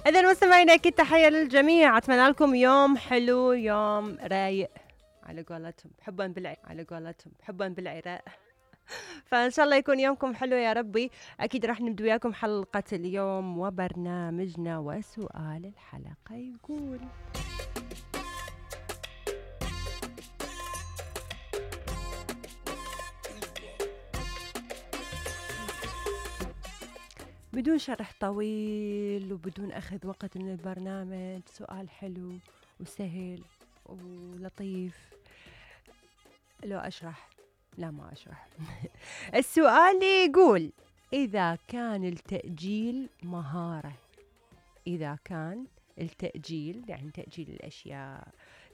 إذا مستمعينا أكيد تحية للجميع، أتمنى لكم يوم حلو، يوم رايق على قولتهم حبا بالعراق. فإن شاء الله يكون يومكم حلو يا ربي. أكيد راح نبدو وياكم حلقة اليوم وبرنامجنا، وسؤال الحلقة يقول: بدون شرح طويل وبدون أخذ وقت من البرنامج، سؤال حلو وسهل ولطيف. لو أشرح؟ لا ما أشرح. السؤال يقول: إذا كان التأجيل مهارة، إذا كان التأجيل يعني تأجيل الأشياء،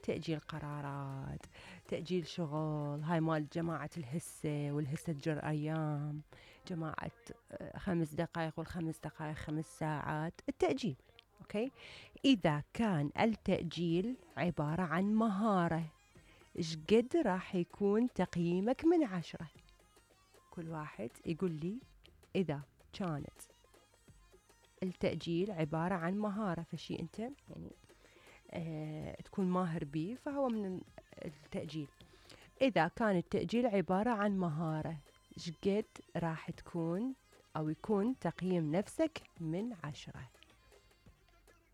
تأجيل قرارات، تأجيل شغل، هاي مال جماعة الهسة والهسة تجر أيام، جماعة 5 دقائق والخمس دقائق 5 ساعات، التأجيل. أوكي، إذا كان التأجيل عبارة عن مهارة، إيش قد راح يكون تقييمك من 10؟ كل واحد يقول لي إذا كانت التأجيل عبارة عن مهارة، فشي أنت يعني تكون ماهر به، فهو من التأجيل. إذا كان التأجيل عبارة عن مهارة، إيش قد راح تكون أو يكون تقييم نفسك من 10؟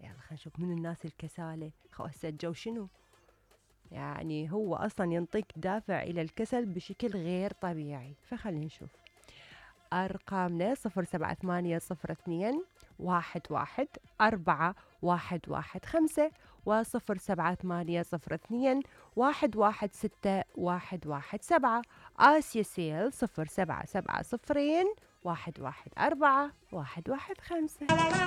يلا خلينا نشوف من الناس الكسالة. هسه الجو شنو؟ يعني هو أصلا ينطيك دافع إلى الكسل بشكل غير طبيعي. فخلينا نشوف أرقامنا: 07802 11 4 1 1 5 و07802 116 آسيا سيل 0770114 115.